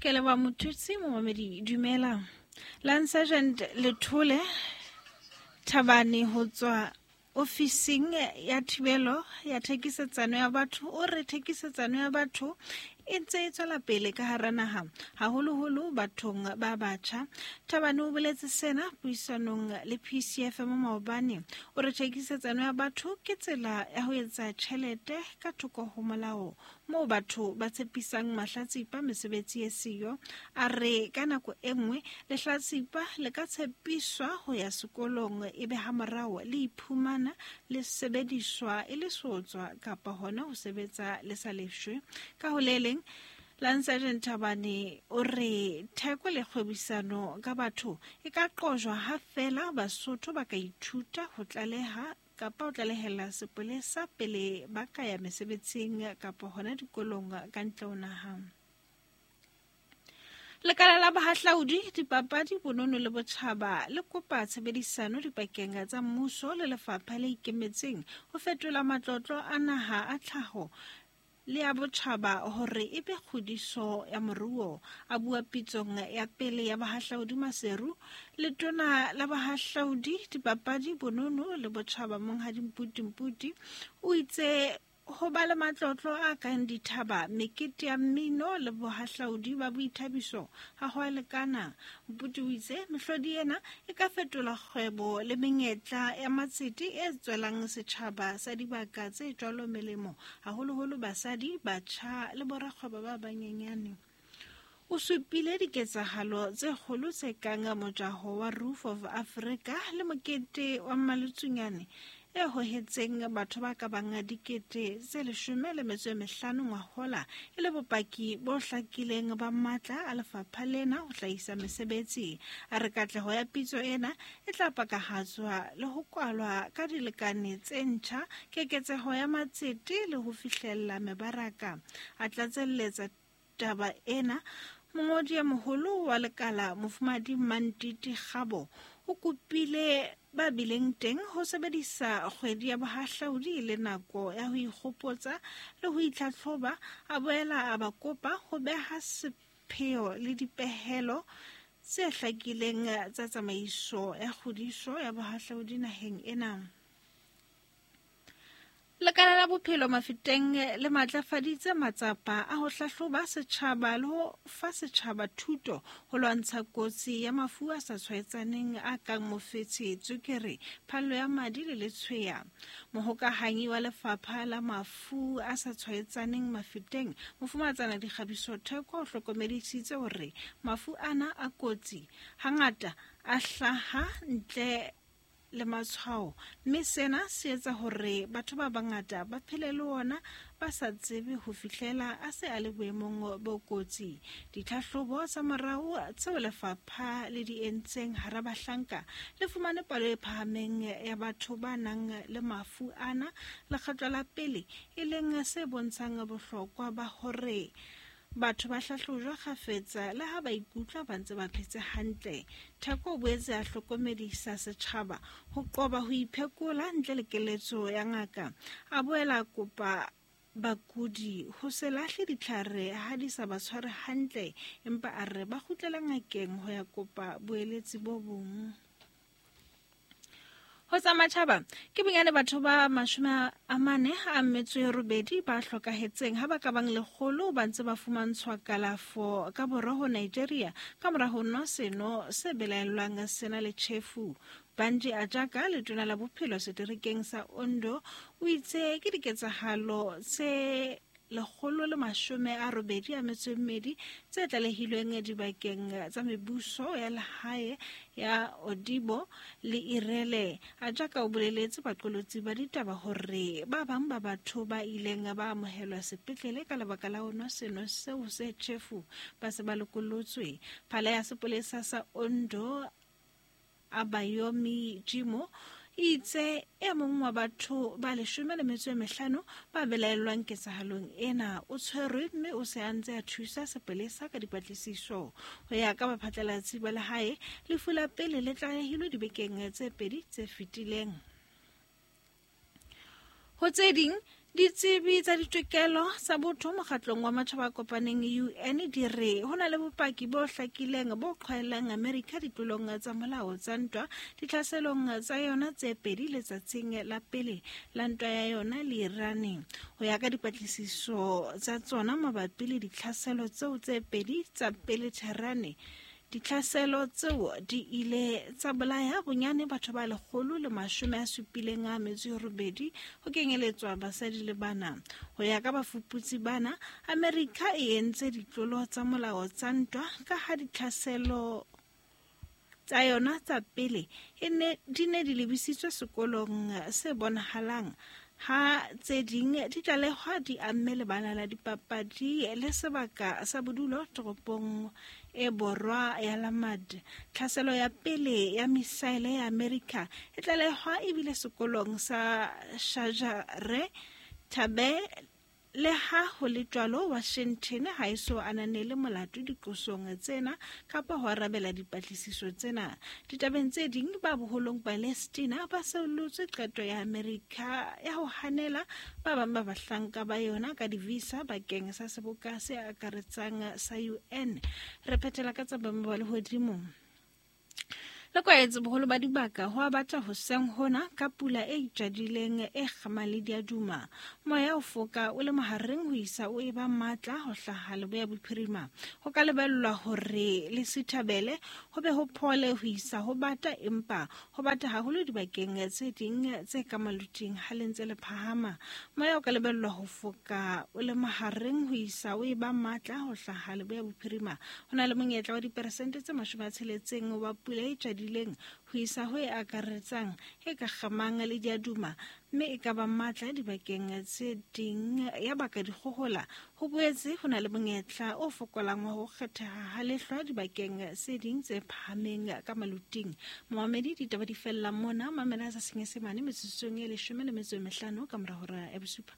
Ke leboha mothusi momamedi dumela. Lance Sergeant Lethole Thabane ho tswa ofising ya thibelo ya thekisetsano ya batho o re thekisetsano ya batho e ntse e tswela pele ka hara naha haholoholo bathong ba batjha. Thabane o boletse sena puisanong le PCFM maobane. O re thekisetsano ya batho ke tsela ya ho etsa tjhelete ka thoko ho molao moo batho ba tshepisang mahlatsipa mesebetsi e siyo. A re ka nako e nngwe lehlatsipa le ka tshepiswa ho ya sekolong ebe hamorao le iphumana le sebediswa e le seotswa kapa hona ho sebetsa le sa lefshwe. Ka ho le leng, Lance Sergeant Thabane o re theko le kgwebisano ka batho e ka qojwa ha feela Basotho ba ka ithuta ho tlaleha kapa ho tlalehela sepolesa pele ba ka ya mesebetsing kapa hona dikolong ka ntle ho naha. Lekala la bohahlaudi, dipapadi, bonono le botjhaba le kopa tshebedisano dipakeng tsa mmuso le lefapha le ikemetseng ho fetola matlotlo a naha a tlhaho le ya botjhaba hore e be kgodiso ya moruo. A bua pitsong ya pele ya bohahlaudi Maseru, letona la bohahlaudi, dipapadi, bonono le botjhaba Monghadi Mputi Mputi o itse ho ba le matlotlo a kang dithaba, mekete ya mmino le bohahlaudi ba boithabiso ha ho a lekana. Mputi o itse mehlodi ena e ka fetola kgwebo le menyetla ya matsete e tswelang setjhaba sa dibaka tse jwalo melemo, haholoholo basadi, batjha le borakgwebo ba banyenyane. O supile diketsahalo tse kgolo tse kang mojaho wa Roof of Africa le mokete wa Mmalutsunyane e hohetseng batho ba ka bang 15,000 ngwahola e le bopaki bo hlakileng ba matla a lefapha lena ho hlahisa mesebetsi. A re katleho ya pitso ena e tla pakahatswa le ho kwalwa ka dilekane tse ntjha, keketseho ya matsete le ho fihlella mebaraka. A tlatselletsa taba ena, mongodi e moholo wa lekala Mofumahadi Mantiti Kgabo o kopile ba bileng teng ho sebedisa kgwedi ya bohahlaudi e le nako ya ho ikgopotsa le ho itlhatlhoba. A boela a ba kopa ho beha sepheo le dipehelo tse hlakileng tsa tsamaiso ya kgodiso ya bohahlaudi naheng ena. Lekala la bophelo Mafeteng le matlafaditse matsapa a ho hlahloba setjhaba le ho fa setjhaba thuto ho lwantsha kotsi ya mafu a sa tshwaetsaneng a kang mofetshe, tswekere, phallo ya madi le letshweya. Mohokahanyi wa lefapha la mafu a sa tshwaetsaneng Mafeteng, Mofumatsana Dikgabiso Theko, o hlokomedisitse hore mafu ana a kotsi hangata a hlaha ntle le matshwao, mme sena se etsa hore batho ba bangata ba phele le ona ba sa tsebe ho fihlela a se a le boemong bo kotsi. Ditlhahlobo tsa morao tseo lefapha le di entseng hara bahlanka le fumane palo e phahameng ya batho ba nang le mafu ana lekgetlo la pele, e leng se bontshang bohlokwa ba hore batho ba hlahlojwa kgafetsa le ha ba ikutlwa ba ntse ba phetse hantle. Theko o boetse a hlokomedisa setjhaba ho qoba ho iphekola ntle le keletso ya ngaka. A boela kopa bakudi ho se lahle ditlhare ha di sa ba tshware hantle, empa a re ba kgutlele ngakeng ho ya kopa boeletsi bo bong. Ho tsa matjhaba, ke bonyane batho ba 48 ba hlokahetseng ha ba ka bang 100 ba ntse ba fumantshwa kalafo ka borwa ho Nigeria ka mora ho nwa seno se belaellwang sena le tjhefu. Banji Ajaka, letona la bophelo seterekeng sa Ondo, o itse ke diketsahalo tse 182 tse tlalehilweng dibakeng tsa mebuso ya lehae ya Odibo le Irele. Ajaka o boleletse baqolotsi ba ditaba hore ba bang ba batho ba ileng ba amohelwa sepetlele ka lebaka la ho nwa seno seo se tjhefu ba se ba lokolotswe. Phala ya sepolesa sa Ondo, Abayomi Jimo, itse e mong wa batho ba 15 ba belaellwang ketsahalong ena o tshwerwe mme o se a ntse a thusa sepolesa ka dipatlisiso. Ho ya ka baphatlalatsi ba lehae, lefu la pele le tlalehilwe dibekeng tse 2 tse fetileng. Ho tse ding, Ditsebi tsa ditokelo tsa botho mokgatlong wa matjhaba a kopaneng UN di re ho na le bopaki bo hlakileng bo qhwaelang Amerika ditlolong tsa molao tsa ntwa ditlhaselong tsa yona tse pedi letsatsing la pele la ntwa ya yona le Iran. Ho ya ka dipatlisiso tsa tsona mabapi le ditlhaselo tseo tse pedi tsa pele Tehran, ditlhaselo tseo di ile tsa bolaya bonyane batho ba 178 ho kenyeletswa basadi le bana. Ho ya ka bafuputsi bana, Amerika e entse ditlolo tsa molao tsa ntwa ka ha ditlhaselo tsa yona tsa pele di ne di lebisitswe sekolong se bonahalang, ha tse ding di tlalehwa di amme lebala la dipapadi le sebaka sa bodulo toropong e borwa ya Lamad. Tlhaselo ya pele ya misaele ya Amerika e tlalehwa ebile sekolong sa Shajare Tabe. Le ha ho le jwalo, Washington ha e so ananele molato diqosong tsena kapa ho arabela dipatlisiso tsena. Ditabeng tse ding, ba boholong Palestina ba seolotse qeto ya Amerika ya ho hanela ba bang ba bahlanka ba yona ka di-visa bakeng sa seboka se akaretsang sa UN. Re phethela ka tsa boemo ba lehodimo. Le kwaetse boholo ba dibaka ho a bata hoseng hona ka pula e itjadileng e kgamang le diaduma. Moya o foka o le mahareng ho isa o eba matla ho hlaha leboya bophirima. Ho ka lebellwa hore le sithabele ho be ho phole ho isa ho bata, empa ho bata haholo dibakeng tse ding tse ka maluting ha le ntse le phahama. Moya o ka lebellwa ho foka o le mahareng ho isa o eba matla ho hlaha leboya bophirima. Ho na le monyetla wa diperesente tse 60 wa pula e tjadileng ho isa ho e akaretsang e ka kgamang le diaduma, mme e ka ba matla dibakeng tse ding ya baka dikgohola. Ho boetse ho na le monyetla o fokolang wa ho kgetheha ha lehlwa dibakeng tse ding tse phahameng ka maluting. Momamedi, ditaba di fella mona. Mamela sa Senyesemane metsotsong e 15 ka mora hora ya bosupa.